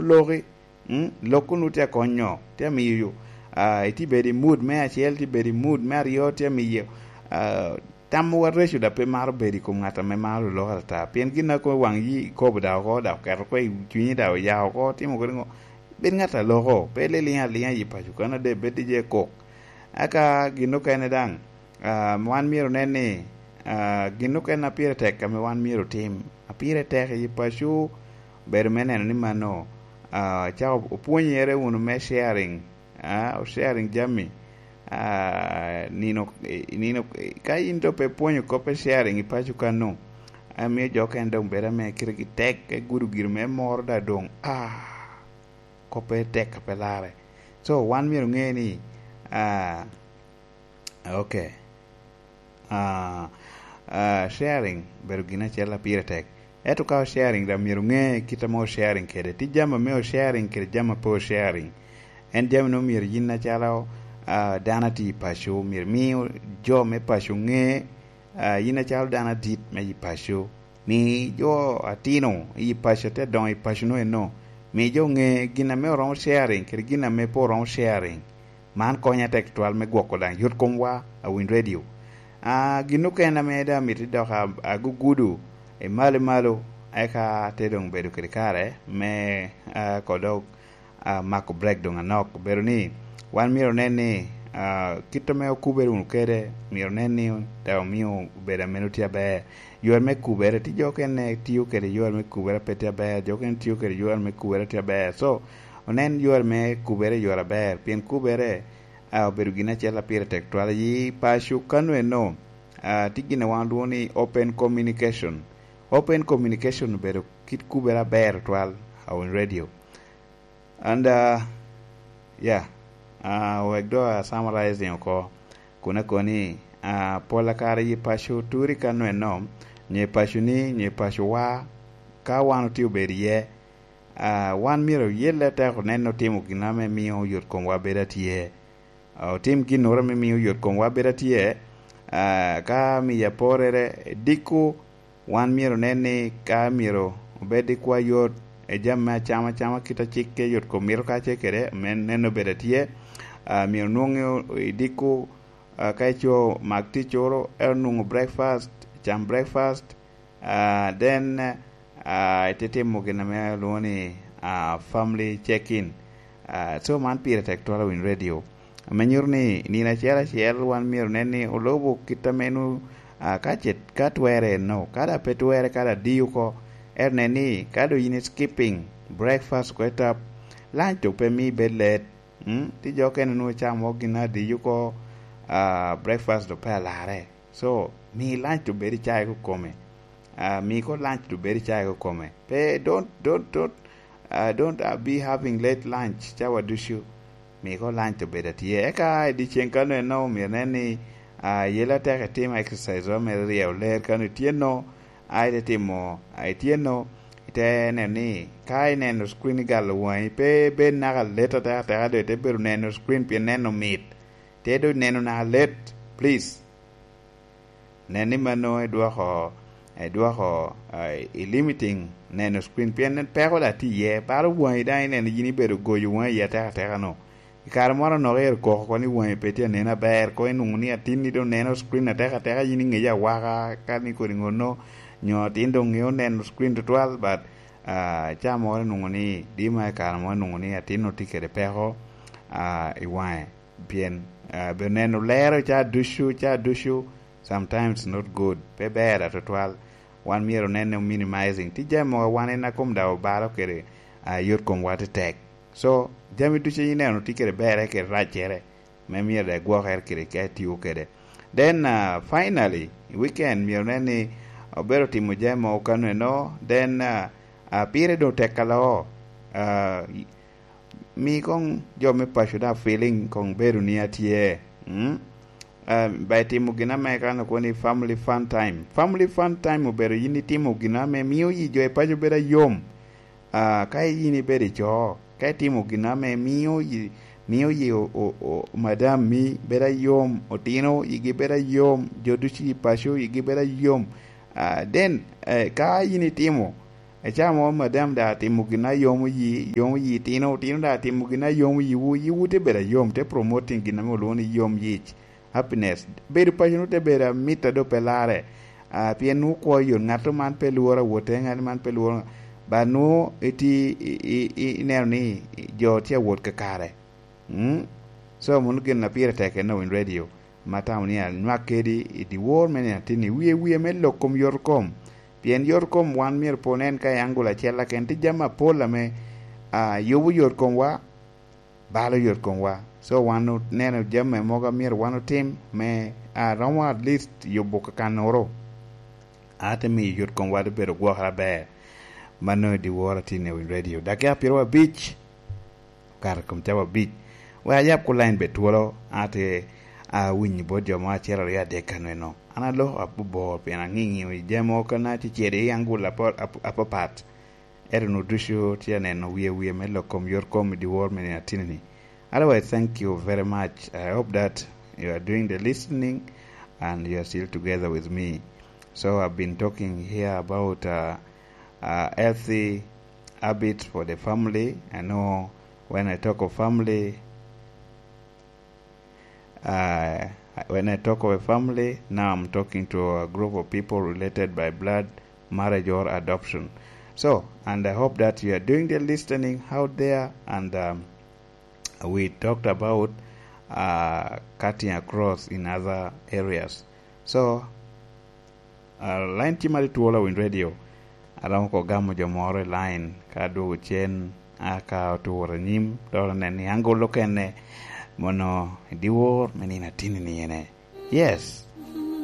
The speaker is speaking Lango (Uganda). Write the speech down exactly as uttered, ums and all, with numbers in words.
loki, mm, lok onwoŋo tye akonyo, tye amiyo, ah, itye bedo i mood me acel, tye bedo i mood me aryo, tye amiyo, ah, tamwa reco dok pe maro bedo i kom ŋat ame maro lok atata. Pien gin a kono waŋ yi ikobo dok oko, dok oketo oko i cunyi, dok oya oko, timo kede ŋo? Bed ŋat a loko, pe liliŋ aliŋa i paco kano, de bed i je kok. Eka gin okene daŋ, ah, wan myero onen ni, ah, gin okene a pire tek ame wan myero otim, a pire tek i paco, bedo me neno ni mano, ah, cako opwonyere wunu me sharing, ah, sharing jami, ah, nino, nino, ka in doŋ pe pwonyo kop me sharing i paco kano, amio jo okene doŋ bedo ame kitegi tek, ka gudo gire me moro da doŋ, ah, kop pe tek, pe larre. So, wan myero oŋe ni, ah, ok. Ah, ah, sharing bedo gin acel a pire tek. Ento ka o sharing, daŋ myero oŋe kit ame o sharing kede. Tye jami ame o sharing kede jami a pe o sharing. En jami no myero yin acalo, ah, dano a tye i paco, myero imi jo me paco ŋe, ah, yin acalo dano adit me i paco. Mi jo atino i paco, te doŋo i paco no eno. Mi jo ŋe gin ame oromo sharing kede gin ame pe oromo sharing. Man konyo atek tutwal me gwoko daŋ yot komwa a winy radio. Ah, gin okene ame daŋ amito dok a-, agugudo i malo i malo, eka te doŋ bedo kede kare me, ah, kodok, ah, mako break doŋ anok. Obedo ni wan myero onen ni, ah, kit ame okubere wunu kede, myero onen ni daŋ omio obedo ameno tye aber. Yore me kubere, tye jo okene tio kede yore me kubere pe tye aber, jo okene tio kede yore me kubere tye aber. So, onen yore me kubere i yore aber, pien kubere, ah, obedo gin acel a pire tek twal. I paco kano eno, ah, tye gin a wan olwongo ni open communication. Open communication obedo kit kubere aber twal, a winy radio. And, ah, yeah, ah, wek do a summarizing oko, kun akoni, ah, pol a kare i paco turi kano eno, nyo i paco ni, nyo i paco wa, ka wan otye obedo iye, ah, wan myero oyelle atek onen otimo gin ame mio yot komwa bedo atye. Ah, otim ginnoro ame mio yot komwa bedo atye. Ah, ka miyo aporere, diko, wan myero onen ni ka myero obed i kwa yot, i jami me acama acama kit a cik ke yot kom mito ka ce kede, me nen obedo atye. Ah, myero nwoŋi i diko, ah, ka ico mak ticcoro, ero nwoŋo breakfast, cam breakfast, ah, then, ah, ite timo gin ame olwongo ni, ah, family check-in. Ah, so man pire tek twal a winy radio. Ame nyuto ni nino acel acel wan myero nen ni olubo kit ame nu, ah, ka ce, ka twere eno, ka da pe twere, ka da diyo oko, ero nen ni ka do yin i skipping breakfast oko etap, lunch to pe mi bed let. Mm? Ti jo okene nu camo gin adiyo oko, ah, breakfast do pe alarre. So, mi lunch obed i caa i kome. Ah, mi ko lunch obed i caa i kome. Pe, don't, don't, don't, ah, don't, ah, be having late lunch, cawa ducu. Mi ko lunch obed atye. Eka i dyeceŋ kano eno, myero nen ni, ah, yela tek itimo exercise wa mere ryeo ler kano ityeno, a ite timo, a ityeno, ite neno ni, ka ineno screen igalo waŋi, pe bed naka let ateka ateka, do ite bedo neno screen pien neno mit. Te do neno naka let, please. Nen ni mano idwoko, idwoko, ah, i limiting neno screen, pien en peko da tye iye. Baro waŋi daŋ ineno yin ibedo goyo waŋi iye ateka ateka no. I kare moro anok ero koko oko ni waŋi pe tye anen aber, ko inwoŋo ni atinni doŋ neno screen ateka ateka, yin iŋeyo awaka, ka ni kodi ŋonno, nyo atin doŋ ŋeo neno screen tutwal, but, ah, ca moro inwoŋo ni dima i kare moro inwoŋo ni atin-nu tye kede peko, ah, i waŋe. Pien, ah, be neno lero ca ducu, ca ducu, sometimes not good. Pe ber atutwal. Wan myero onenne minimizing. Tye jami mogo wan en a kom daŋ obalo kede, ah, yot komwa tetek. So, jami ducu ineno tye kede berre kede raccere, me myero daŋ igwokere kede ka itiyo kede. Then, ah, finally, i weekend myero nen ni obedo timo jami mogo kano eno. Then, ah, ah, pire doŋ tek aloo. Ah, mi koŋ jo me paco daŋ feeling koŋ bedo ni atye. Mm? Ah, ba itimo gin ame kan okwo ni family fun time. Family fun time obedo yin itimo gin ame mio yi jo i paco bedo ayom. Ah, ka yin ibedo i co, ka itimo gin ame mio yi, mio yi o, o, o, madam mi bedo ayom, otino yigi bedo ayom, jo ducu i paco yigi bedo ayom, ah, then, eh, ka yin itimo, Ecamo madam da atimo gin a yomo yi, yomo yi tino, tino da atimo gin a yomo yiwu, yiwu te bedo ayom, te promoting gin ame olwoŋo ni yom yic, happiness. Bedo paco nu te bedo amit a do pe larre. Ah, pien nu kwo yot, ŋat man pe lworo awote, ŋat man pe lworo, ba nu iti, i, i, i, ineno ni jo tye awot kakare. Mm? So, mano gin a pire tek en Win Radio, ma tamo ni anywak kedi i dyewor me nino atin-ni, wie wie me lok kom yot kom. Pien yot kom wan myero pwod nen ka i angul acel aken, tye jami apol ame, ah, yubo yot komwa, balo yot komwa. So, wan oneno jami mogo a myero wan otim me, ah, romo at least yubo kakannoro. A te miyo yot komwa te bedo gwokere aber. Mano i dyewor atin i Win Radio. Dakika pyeru abic, okato i kom cawa abic. Wek ayab ku line bed twolo, a te awinyo bot jo mo acel aryo adek ka nweno. An aloko abobor pien aŋiŋio i jami mogo ka na cecere i angul apo-, ap-, apapat. Ento nu ducu tye aneno wie wie me lok kom yot kom i dyewor me nino atin-ni. Otherwise, thank you very much. I hope that you are doing the listening and you are still together with me. So I've been talking here about, uh, uh, healthy habits for the family. I know when I talk of family, uh, when I talk of a family, now I'm talking to a group of people related by blood, marriage or adoption. So, and I hope that you are doing the listening out there, and, um, we talked about, uh, cutting across in other areas. So, uh, line tye ma twolo a Win Radio. Aromo ko gamo jo moro i line ka adwogo cen, a ka otur anyim, dok anen ni angol okene mono i dyewor me nino atin-ni ene. Yes,